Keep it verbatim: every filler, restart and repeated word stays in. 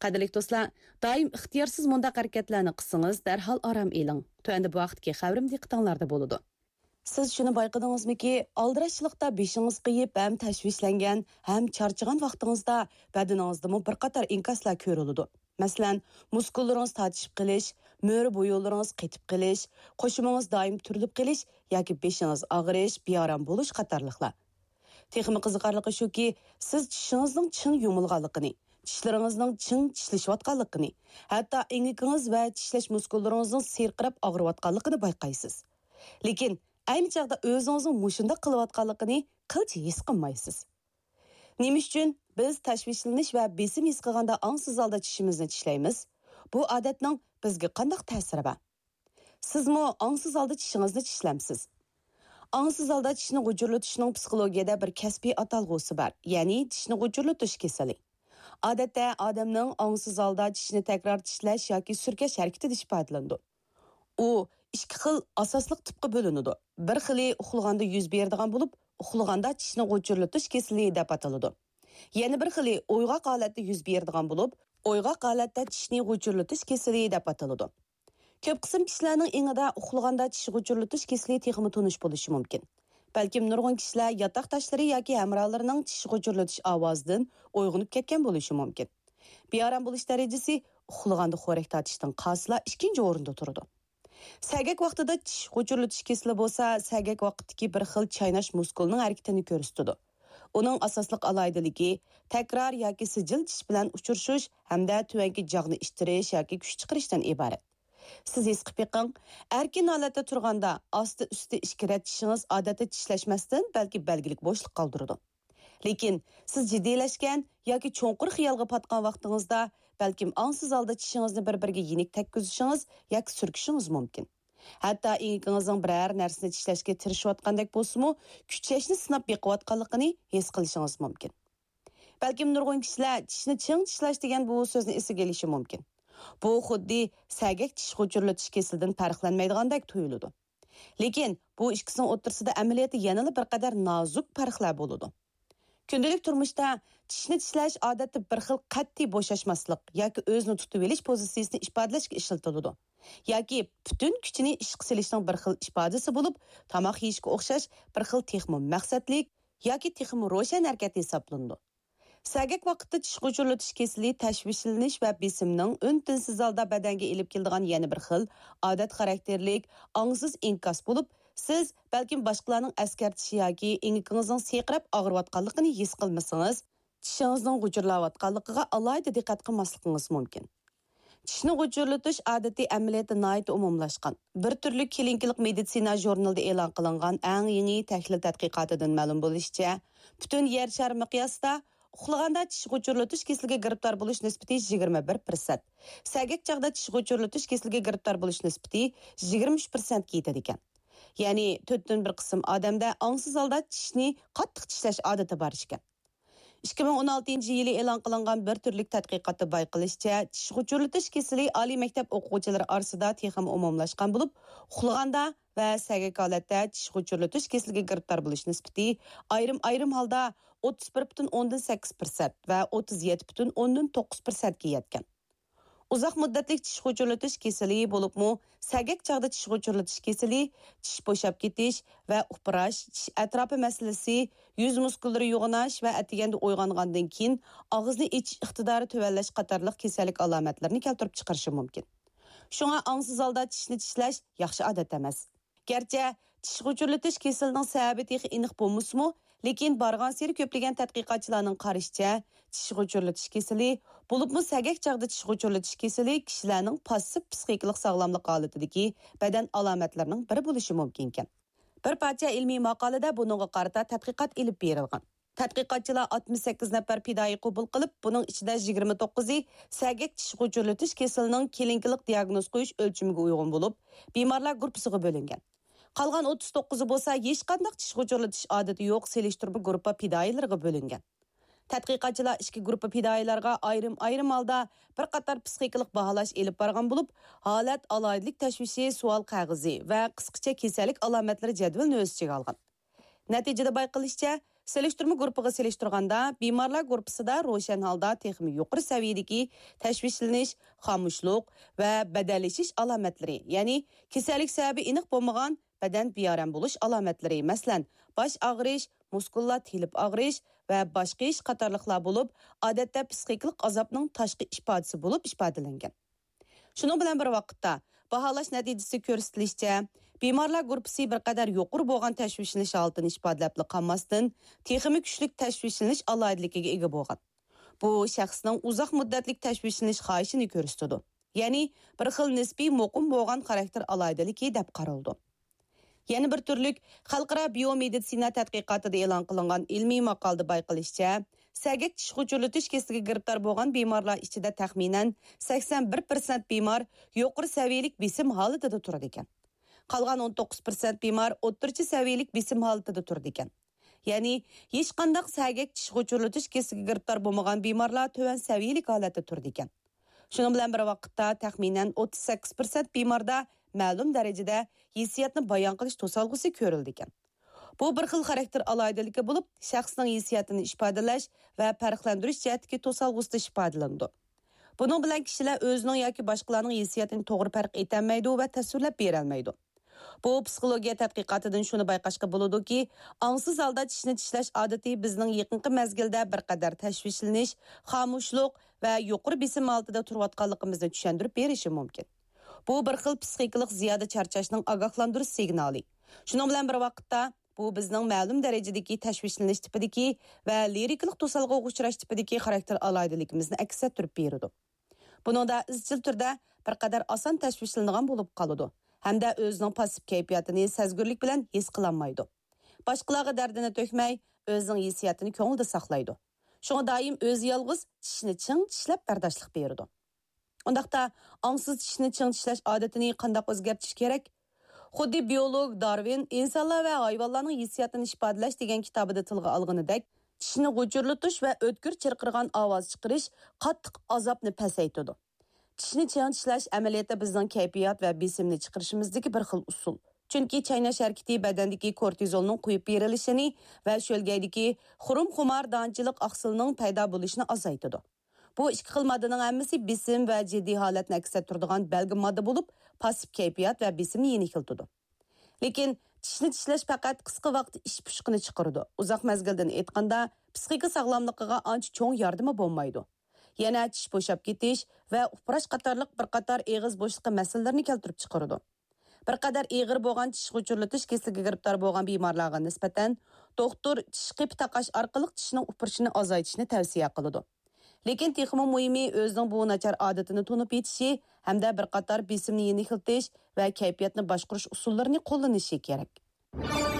قەدىرلىك دوستلار، دائىم ئىختىيارسىز مۇنداق ھەرىكەتلەرنى قىلسىڭىز، دەرھال ئارام ئېلىڭ. تۆۋەندە بۇ ھەقتىكى خەۋىرىم دىققىتىڭلاردا بولىدۇ. سىز شۇنى بايقىدىڭىزمىكى، ئالدىراشچىلىقتا بېشىڭىز قېيىپ ھەم تەشۋىشلەنگەن، ھەم چارچىغان ۋاقتىڭىزدا بەدىنىڭىزدىمۇ بىر قاتار ئىنكاسلار كۆرۈلىدۇ. مەسىلەن، مۇسكۇللىرىڭىز تارتىشىپ قېلىش، مۈرە بويۇنلىرىڭىز قېتىپ قېلىش، قوشۇمىڭىز دائىم تۈرۈلۈپ قېلىش ياكى بېشىڭىز ئاغرىش، بىئارام بولۇش قاتارلىقلار. تېخىمۇ قىزىقارلىقى شۇكى، سىز چىشىڭىزنىڭ چىڭ يۇمۇلغانلىقىنى، چىشلىرىڭىزنىڭ چىڭ چىشلىشىۋاتقانلىقىنى، ھەتتا ئېڭىكىڭىز ۋە چىشلەش مۇسكۇللىرىڭىزنىڭ سىرقىراپ ئاغرىۋاتقانلىقىنى بايقايسىز. لېكىن ئەينى چاغدا ئۆزىڭىزنىڭ مۇشۇنداق قىلىۋاتقانلىقىنى قىلچە ھېس قىلمايسىز. نېمە ئۈچۈن بىز تەشۋىشلىنىش ۋە بېسىم ھېس قىلغاندا ئاڭسىز ھالدا چىشىمىزنى چىشلەيمىز؟ بۇ ئادەتنىڭ بىزگە قانداق تەسىرى بار؟ سىزمۇ ئاڭسىز ھالدا چىشىڭىزنى چىشلەمسىز؟ ئاڭسىز ھالدا چىشنى غۇچۇرلىتىشنىڭ پسىخولوگىيەدە بىر كەسپىي ئاتالغۇسى بار، يەنى چىشنى غۇچۇرلىتىش كېسىلى. ئادەتتە ئادەمنىڭ ئاڭسىز ھالدا چىشنى تەكرار چىشلەش ياكى سۈركەش ھەرىكىتى دېيىش ئىپادىلىنىدۇ. ئۇ ئىككى خىل ئاساسلىق تىپقا بۆلۈنىدۇ. بىر خىلى ئۇخلىغاندا يۈز بېرىدىغان بولۇپ، ئۇخلىغاندا چىشنى غۇچۇرلىتىش كېسىلى دەپ ئاتىلىدۇ. يەنە بىر خىلى ئويغاق ھالەتتە يۈز بېرىدىغان بولۇپ، ئويغاق ھالەتتە چىشنى غۇچۇرلىتىش كېسىلى دەپ ئاتىلىدۇ. كۆپ قىسىم كىشىلەرنىڭ ئېڭىدا ئۇخلىغاندا چىش غۇچۇرلىتىش كېسىلى تېخىمۇ تونۇش بولۇشى مۇمكىن. بەلكىم نۇرغۇن كىشىلەر ياتاقداشلىرى ياكى ھەمراھلىرىنىڭ چىش غۇچۇرلىتىش ئاۋازىدىن ئويغىنىپ كەتكەن بولۇشى مۇمكىن. بىئارام بولۇش دەرىجىسى ئۇخلىغاندا خورەك تارتىشتىن قالسىلا ئىككىنچى ئورۇندا تۇرىدۇ. سەگەك ۋاقتىدا چىش غۇچۇرلىتىش كېسىلى بولسا، سەگەك ۋاقتىدىكى بىر خىل چايناش مۇسكۇلىنىڭ ھەرىكىتىنى كۆرسىتىدۇ. ئۇنىڭ ئاساسلىق ئالاھىدىلىكى تەكرار ياكى سىجىل چىش بىلەن ئۇچرىشىش ھەمدە تۆۋەنكى جاغنى ئىتتىرىش ياكى كۈچ چىقىرىشتىن ئىبارەت. سىز ھېس قىلىپ بېقىڭ، ئەركىن ھالەتتە تۇرغاندا ئاستى ئۈستى ئىككى رەت چىشىڭىز ئادەتتە چىشلەشمەستىن بەلكى بەلگىلىك بوشلۇق قالدۇرىدۇ. لېكىن سىز جىددىيلەشكەن ياكى چوڭقۇر خىيالغا پاتقان ۋاقتىڭىزدا، بەلكىم ئاڭسىز ھالدا چىشىڭىزنى بىر-بىرىگە يېنىك تەگكۈزۈشىڭىز ياكى سۈركىشىڭىز مۇمكىن. ھەتتا ئېڭىكىڭىزنىڭ بىرەر نەرسىنى چىشلەشكە تىرىشىۋاتقاندەك بولسىمۇ، كۈچەشنى سىناپ بېقىۋاتقانلىقىنى ھېس قىلىشىڭىز مۇمكىن. بەلكىم نۇرغۇن كىشىلەر چىشنى چىڭ چىشلاش دېگەن بۇ سۆزنى ئېسىگە ئېلىشى مۇمكىن. بۇ خۇددى سەگەك چىش غۇچۇرلىتىش كېسىلىدىن پەرقلەنمەيدىغاندەك تۇيۇلىدۇ. لېكىن بۇ ئىككىسىنىڭ ئوتتۇرىسىدا ئەمەلىيەتتە يەنىلا بىر قەدەر نازۇك پەرقلەر بولىدۇ. كۈندىلىك تۇرمۇشتا چىشنى چىشلەش ئادەتتە بىر خىل قەتئىي بوشاشماسلىق ياكى ئۆزىنى تۇتۇۋېلىش پوزىتسىيىسىنى ئىپادىلەشكە ئىشلىتىلىدۇ. ياكى پۈتۈن كۈچىنى ئىشقا سېلىشنىڭ بىر خىل ئىپادىسى بولۇپ، تاماق يېيىشكە ئوخشاش بىر خىل تېخىمۇ مەقسەتلىك ياكى تېخىمۇ روشەن ھەرىكەت ھېسابلىنىدۇ. سەگەك ۋاقىتتا چىش غۇچۇرلىتىش كېسىلى تەشۋىشلىنىش ۋە بېسىمنىڭ ئۈن-تىنسىز ھالدا بەدەنگە ئېلىپ كېلىدىغان يەنە بىر خىل، ئادەت خاراكتېرلىك، ئاڭسىز ئىنكاس بولۇپ، سىز بەلكىم باشقىلارنىڭ ئەسكەرتىشى ياكى ئېڭىكىڭىزنىڭ سىرقىراپ ئاغرىۋاتقانلىقىنى ھېس قىلمىسىڭىز، چىشىڭىزنىڭ غۇچۇرلاۋاتقانلىقىغا ئالاھىدە دىققەت قىلماسلىقىڭىز مۇمكىن. چىشنى غۇچۇرلىتىش ئادىتى ئەمەلىيەتتە ناھايىتى ئومۇملاشقان. بىر تۈرلۈك كلىنىكىلىق مېدىتسىنا ژۇرنىلىدا ئېلان قىلىنغان ئەڭ يېڭى تەھلىل تەتقىقاتىدىن مەلۇم بولۇشىچە، پۈتۈن يەر شارى مىقياسىدا ئۇخلىغاندا چىش غۇچۇرلىتىش كېسىلىگە گىرىپتار بولۇش نىسبىتى يىگىرمە بىر پىرسەنت، سەگەك چاغدا چىش غۇچۇرلىتىش كېسىلىگە گىرىپتار بولۇش نىسبىتى يىگىرمە ئۈچ پىرسەنتكە يېتىدىكەن. يەنى تۆتتىن بىر قىسىم ئادەمدە ئاڭسىز ھالدا چىشنى قاتتىق چىشلەش ئادىتى بار ئىكەن. ئىككى مىڭ ئون ئالتىنچى يىلى ئېلان قىلىنغان بىر تۈرلۈك تەتقىقاتتا بايقىلىشىچە، چىش غۇچۇرلىتىش كېسىلى ئالىي مەكتەپ ئوقۇغۇچىلىرى ئارىسىدا تېخىمۇ ئومۇملاشقان بولۇپ، ئۇخلىغاندا ۋە سەگەك ھالەتتە چىش غۇچۇرلىتىش كېسىلىگە گىرىپتار بولۇش نىسبىتى ئايرىم-ئايرىم ھالدا ئوتتۇز بىر پۈتۈن ئوندىن سەككىز پىرسەنت ۋە ئوتتۇز يەتتە پۈتۈن ئوندىن توققۇز پىرسەنتكە يەتكەن. ئۇزاق مۇددەتلىك چىش غۇچۇرلىتىش كېسىلى، بولۇپمۇ سەگەك چاغدا چىش غۇچۇرلىتىش كېسىلى، چىش بوشاپ كېتىش ۋە ئۇپراش، چىش ئەتراپى مەسىلىسى، يۈز مۇسكۇللىرى يوغىناش ۋە ئەتىگەندە ئويغانغاندىن كېيىن ئاغزىنى ئېچىش ئىقتىدارى تۆۋەنلەش قاتارلىق كېسەللىك ئالامەتلىرىنى كەلتۈرۈپ چىقىرىشى مۇمكىن. شۇڭا ئاڭسىز ھالدا چىشنى چىشلەش ياخشى ئادەت ئەمەس. گەرچە چىش غۇچۇرلىتىش كېسىلىنىڭ سەۋەبى تېخى ئېنىق بولمىسىمۇ، لېكىن بارغانسېرى كۆپلىگەن تەتقىقاتچىلارنىڭ قارىشىچە، چىش غۇچۇرلىتىش كېسىلى، بولۇپمۇ سەگەك چاغدا چىش غۇچۇرلىتىش كېسىلى كىشىلەرنىڭ پاسسىپ پسىخىكىلىق ساغلاملىق ھالىتىدىكى بەدەن ئالامەتلىرىنىڭ بىرى بولۇشى مۇمكىنكەن. بىر پارچە ئىلمىي ماقالىدە بۇنىڭغا قارىتا تەتقىقات ئېلىپ بېرىلغان. تەتقىقاتچىلار ئاتمىش سەككىز نەپەر پىدائىي قوبۇل قىلىپ، بۇنىڭ ئىچىدە يىگىرمە توققۇزى سەگەك چىش غۇچۇرلىتىش كېسىلىنىڭ كلىنىكىلىق دىياگنوز قويۇش ئۆلچىمىگە ئۇيغۇن بولۇپ، بىمارلار گۇرۇپپىسىغا بۆلۈنگەن. قالغان ئوتتۇز توققۇزى بولسا ھېچقانداق چىش غۇچۇرلىتىش ئادىتى يوق سېلىشتۇرما گۇرۇپپا پىدائىيلىرىغا بۆلۈنگەن. تەتقىقاتچىلار ئىككى گۇرۇپپا پىدائىيلارغا ئايرىم-ئايرىم ھالدا بىر قاتار پسىخىكىلىق باھالاش ئېلىپ بارغان بولۇپ، ھالەت ئالاھىدىلىك تەشۋىشى سوئال قەغىزى ۋە قىسقىچە كېسەللىك ئالامەتلىرى جەدۋىلىنى ئۆز ئىچىگە ئالغان. نەتىجىدە بايقىلىشىچە، سېلىشتۇرما گۇرۇپپىغا سېلىشتۇرغاندا، بىمارلار گۇرۇپپىسىدا روشەن ھالدا تېخىمۇ يۇقىرى سەۋىيەدىكى تەشۋىشلىنىش، خامۇشلۇق ۋە بەدەنلىشىش ئالامەتلىرى، يەنى كېسەللىك سەۋەبى ئېنىق بولمىغان بەدەن بىئارام بولۇش ئالامەتلىرى، مەسىلەن، باش ئاغرىش، مۇسكۇللار تېلىپ ئاغرىش ۋە باش قېيىش قاتارلىقلار بولۇپ، ئادەتتە پىسخىكىلىق ئازابنىڭ تاشقى ئىپادىسى بولۇپ ئىپادىلەنگەن. شۇنىڭ بىلەن بىر ۋاقىتتا، باھالاش نەتىجىسى كۆرسىتىلىشىچە، بىمارلار گۇرۇپپىسى بىر قەدەر يۇقىرى بولغان تەشۋىشلىنىش ھالىتىنى ئىپادىلەپلا قالماستىن، تېخىمۇ كۈچلۈك تەشۋىشلىنىش ئالاھىدىلىكىگە ئىگە بولغان. بۇ شەخسنىڭ ئۇزاق مۇددەتلىك تەشۋىشلىنىش خاھىشىنى كۆرسىتىدۇ. يەنى بىر خىل نىسپىي مۇقىم بولغان خاراكتېر ئالاھىدىلىكى دەپ قارىلىدۇ. يەنە بىر تۈرلۈك خەلقئارا بىيومېدىتسىنا تەتقىقاتىدا ئېلان قىلىنغان ئىلمىي ماقالىدە بايقىلىشىچە، سەگەك چىش غۇچۇرلىتىش كېسىلىگە گىرىپتار بولغان بىمارلار ئىچىدە تەخمىنەن سەكسەن بىر پىرسەنت بىمار يۇقىرى سەۋىيەلىك بېسىم ھالىتىدە تۇرىدىكەن. قالغان ئون توققۇز پىرسەنت بىمار ئوتتۇرىچە سەۋىيەلىك بېسىم ھالىتىدە تۇرىدىكەن. يەنى ھېچقانداق سەگەك چىش غۇچۇرلىتىش كېسىلىگە گىرىپتار بولمىغان بىمارلار تۆۋەن سەۋىيەلىك ھالەتتە تۇرىدىكەن. شۇنىڭ بىلەن بىر ۋاقىتتا، تەخمىنەن ئوتتۇز سەككىز پىرسەنت بىماردا مەلۇم دەرىجىدە ھېسسىياتنى بايان قىلىش توسالغۇسى كۆرۈلىدىكەن. بۇ بىر خىل خاراكتېر ئالاھىدىلىكى بولۇپ، شەخسنىڭ ھېسسىياتىنى ئىپادىلەش ۋە پەرقلەندۈرۈش جەھەتتىكى توسالغۇسىدا ئىپادىلىنىدۇ. بۇنىڭ بىلەن كىشىلەر ئۆزىنىڭ ياكى باشقىلارنىڭ ھېسسىياتىنى توغرا پەرق ئېتەلمەيدۇ ۋە تەسۋىرلەپ بېرەلمەيدۇ. بۇ پسىخولوگىيە تەتقىقاتىدىن شۇنى بايقاشقا بولىدۇكى، ئاڭسىز ھالدا چىشنى چىشلەش ئادىتى بىزنىڭ يېقىنقى مەزگىلدە بىر قەدەر تەشۋىشلىنىش، خامۇشلۇق ۋە يۇقىرى بېسىم ھالىتىدە تۇرۇۋاتقانلىقىمىزنى چۈشەندۈرۈپ بېرىشى مۇمكىن. بۇ بىر خىل پسىخىكىلىق زىيادە چارچاشنىڭ ئاگاھلاندۇرۇش سىگنالى. شۇنىڭ بىلەن بىر ۋاقىتتا، بۇ بىزنىڭ مەلۇم دەرىجىدىكى تەشۋىشلىنىش تىپىدىكى ۋە لىرىكىلىق توسالغۇغا ئۇچراش تىپىدىكى خاراكتېر ئالاھىدىلىكىمىزنى ئەكس ئەتتۈرۈپ بېرىدۇ. بۇنىڭدا ئىزچىل تۈردە بىر قەدەر ئاسان تەشۋىشلىنىدىغان بولۇپ قالىدۇ ھەمدە ئۆزىنىڭ پاسسىپ كەيپىياتىنى سەزگۈرلۈك بىلەن ھېس قىلالمايدۇ. باشقىلارغا دەردىنى تۆكمەي، ئۆزىنىڭ ھېسسىياتىنى كۆڭلىدە ساقلايدۇ. شۇڭا دائىم ئۆزى يالغۇز چىشنى چىڭ چىشلەپ بەرداشلىق بېرىدۇ. ئۇنداقتا، ئاڭسىز چىشنى چىڭ چىشلەش ئادىتىنى قانداق ئۆزگەرتىش كېرەك؟ خۇددى بىيولوگ دارۋىن ئىنسانلار ۋە ھايۋانلارنىڭ ھېسسىياتىنى ئىپادىلەش دېگەن كىتابىدا تىلغا ئالغىنىدەك، چىشنى غۇچۇرلىتىش ۋە ئۆتكۈر چىرقىرىغان ئاۋاز چىقىرىش قاتتىق ئازابنى پەسەيتىدۇ. چىشنى چىڭ چىشلەش ئەمەلىيەتتە بىزنىڭ كەيپىيات ۋە بېسىمنى چىقىرىشىمىزدىكى بىر خىل ئۇسۇل. چۈنكى چايناش ھەرىكىتى بەدەندىكى كورتىزولنىڭ قويۇپ بېرىلىشىنى ۋە شۆلگەيدىكى خۇرۇم خۇمار دانچىلىق ئاقسىلىنىڭ پەيدا بولۇشىنى ئازايتىدۇ. بۇ ئىككى خىل ماددىنىڭ ھەممىسى بېسىم ۋە جىددىي ھالەتنى ئەكس ئەتتۈرىدىغان بەلگە ماددا بولۇپ، پاسسىپ كەيپىيات ۋە بېسىمنى يېنىكلىتىدۇ. لېكىن چىشنى چىشلەش پەقەت قىسقا ۋاقىت ئىچ پۇشۇقىنى چىقىرىدۇ. ئۇزاق مەزگىلدىن ئېيتقاندا، پسىخىكا ساغلاملىقىغا ئانچە چوڭ ياردىمى بولمايدۇ. يەنە چىش بوشاپ كېتىش ۋە ئۇپراش قاتارلىق بىر قاتار ئېغىز بوشلۇقى مەسىلىلىرىنى كەلتۈرۈپ چىقىرىدۇ. بىر قەدەر ئېغىر بولغان چىش غۇچۇرلىتىش كېسىلىگە گىرىپتار بولغان بىمارلارغا نىسبەتەن، دوختۇر چىش قېپى تاقاش ئارقىلىق چىشنىڭ ئۇپرىشىنى ئازايتىشنى تەۋسىيە قىلىدۇ. لېكىن تېخىمۇ مۇھىمى، ئۆزىنىڭ بۇ ناچار ئادىتىنى تونۇپ يېتىشى ھەمدە بىر قاتار بېسىمنى يېنىكلىتىش ۋە كەيپىياتنى باشقۇرۇش ئۇسۇللىرىنى قوللىنىشى كېرەك.